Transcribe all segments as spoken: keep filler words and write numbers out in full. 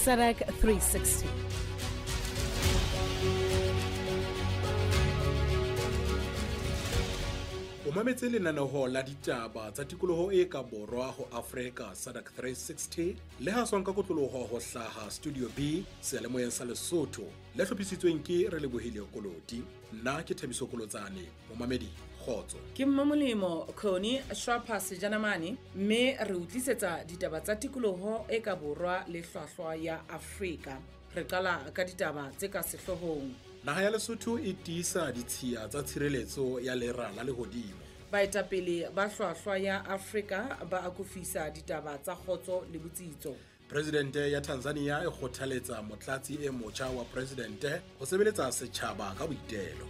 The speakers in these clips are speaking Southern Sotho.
S A D C three sixty. O mametse lenaneo la ditaba tsa tikoloho e ka borwa ho Afrika, S A D C three sixty, le haswang ka kotloloho ho hlaha Studio B seyalemoyeng sa Lesotho, le hlophisitsweng ke Relebohile Koloti. Nna ke Thabiso Kolotsane. Momamedi, kgotso. Ke Mmamolemo Connie Shwapha Sejanamane, mme re utlisetsa ditaba tsa tikoloho e ka borwa le hlwahlwa ya Afrika. Re qala ka ditaba tse ka sehloohong. Naha ya Lesotho e tiisa ditshiya tsa tshireletso ya lera la lehodimo. Baetapele ba hlwahlwa ya Afrika ba akofisa ditaba tsa kgotso le botsitso. Presidente ya Tanzania e kgothaletsa motlatsi e motjha wa presidente ho sebeletsa setjhaba ka boitelo.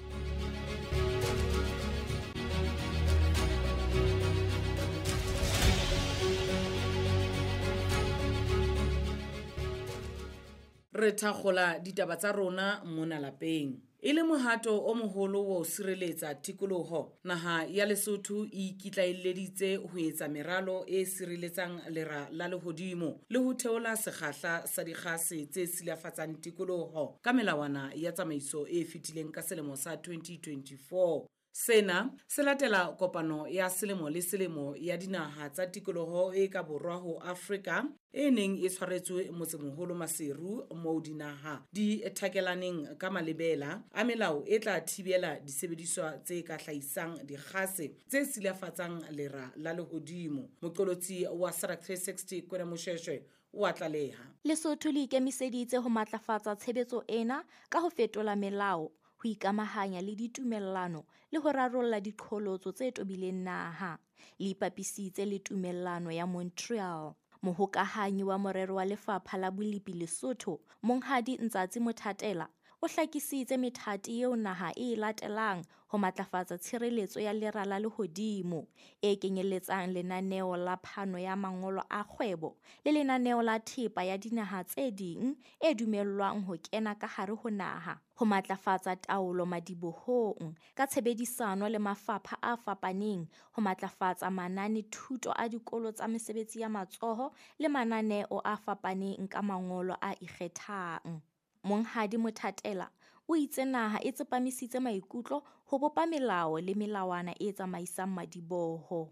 Re thakgola ditaba tsa rona mona lapeng. E le mohato o moholo wa ho sireletsa tikoloho, naha ya Lesotho e ikitlaelleditse ho etsa meralo e sireletsang lera la lehodimo le ho theola sekgahla sa dikgase tse silafatsang tikoloho ka melawana ya tsamaiso e fetileng ka selemo sa twenty twenty-four. Sena se latela kopano ya selemo le selemo ya dinaha tsa tikoloho e ka borwa ho Afrika e neng e tshwaretswe motsemoholo Maseru, moo dinaha di thakelaneng ka malebela a melao e tla thibela disebediswa tse ka hlahisang dikgase tse silafatsang lera la lehodimo. Moqolotsi wa S A D C three sixty Kwena Moshweshwe o a tlaleha. Lesotho le ikemiseditse ho matlafatsa tshebetso ena ka ho fetola melao, ho ikamahanya le ditumellano le ho rarolla diqholotso tse tobileng naha. Le ipapisitse le tumellano ya Montreal. Mohokahanyi wa morero wa Lefapha la Bolepi Lesotho, Monghadi Ntsatsi Mothatela, o hlakisitse methati eo naha e e latelang ho matlafatsa tshireletso ya lera la lehodimo, e kenyelletsang lenaneo la phano ya mangolo a kgwebo le lenaneo la thepa ya dinaha tse ding e dumellwang ho kena ka hare ho naha, ho matlafatsa taolo madibohong ka tshebedisano le mafapha a fapaneng, ho matlafatsa manane-thuto a dikolo tsa mesebetsi ya matsoho le mananeo a fapaneng ka mangolo a ikgethang. Monghadi Mothatela o itse naha e tsepamisitse maikutlo ho bopa melao le melawana e tsamaisang madiboho.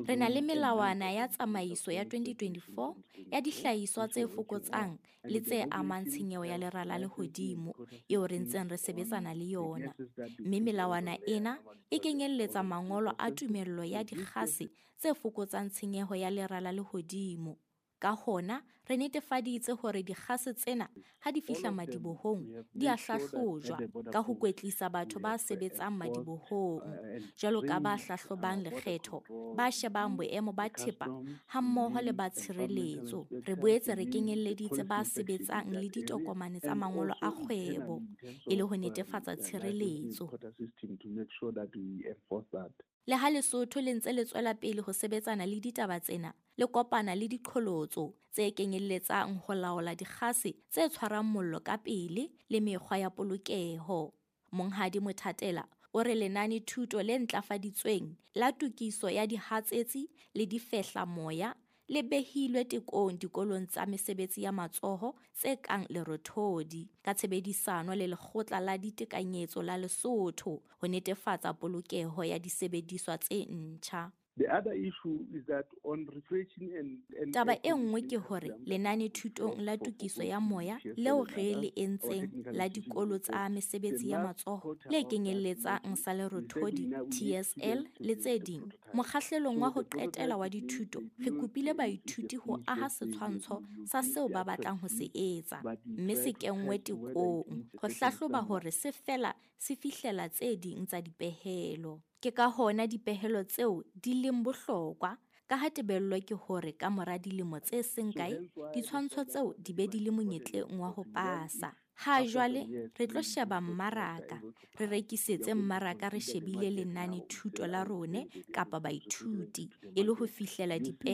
Re na le melawana ya tsamaiso ya twenty twenty-four ya dihlahiswa tse fokotsang le tse amang tshenyeho ya lera la lehodimo eo re ntseng re sebetsana le yona, mme melawana ena e kenyelletsa mangolo a tumello ya dikgase tse fokotsang tshenyeho ya lera la lehodimo. Ka hona, re netefaditse hore dikgase tsena ha di fihla madibohong di a hlahlojwa ka ho kwetlisa batho ba sebetsang madibohong, jwalo ka ba hlahlobang lekgetho, ba shebang boemo ba thepa hammoho le ba tshireletso. Re boetse re kenyelleditse ba sebetsang le ditokomane tsa mangolo a kgwebo e le ho netefatsa tshireletso. Le ha Lesotho le ntse le tswela pele ho sebetsana le ditaba tsena, le kopana le diqholotso tse kenyelletsang ho laola dikgase tse tshwarang mollo ka pele le mekgwa ya polokeho. Monghadi Mothatela o re lenane-thuto le ntlafaditsweng la tokiso ya dihatsetsi le difehlamoya le behilwe tekong dikolong tsa mesebetsi ya matsoho tse kang Lerothodi ka tshebedisano le Lekgotla la Ditekanyetso la Lesotho ho netefatsa polokeho ya disebediswa tse ntjha. The other issue is that on refreshing and, and Taba e nngwe ke hore lenane-thutong la tokiso ya moya leo re le entseng la dikolo tsa mesebetsi ya matsoho le kenyelletsang sa Lerothodi, T S L le tse ding, mokgahlelong wa ho qetela wa dithuto re kopile baithuti ho aha setshwantsho sa seo ba batlang ho se etsa, mme se kenngwe tekong ho hlahloba hore se fela se fihlela tse ding tsa dipehelo. Ke ka hona dipehelo tseo di leng bohlokwa, ka ha tebello ke hore ka mora dilemo tse seng kae ditshwantsho tseo di be di le monyetleng wa ho pasa. Ha jwale re tlo sheba mmaraka, re rekisetse mmaraka re shebile lenane-thuto la rona kapa baithuti e le ho fihlela dipehelo.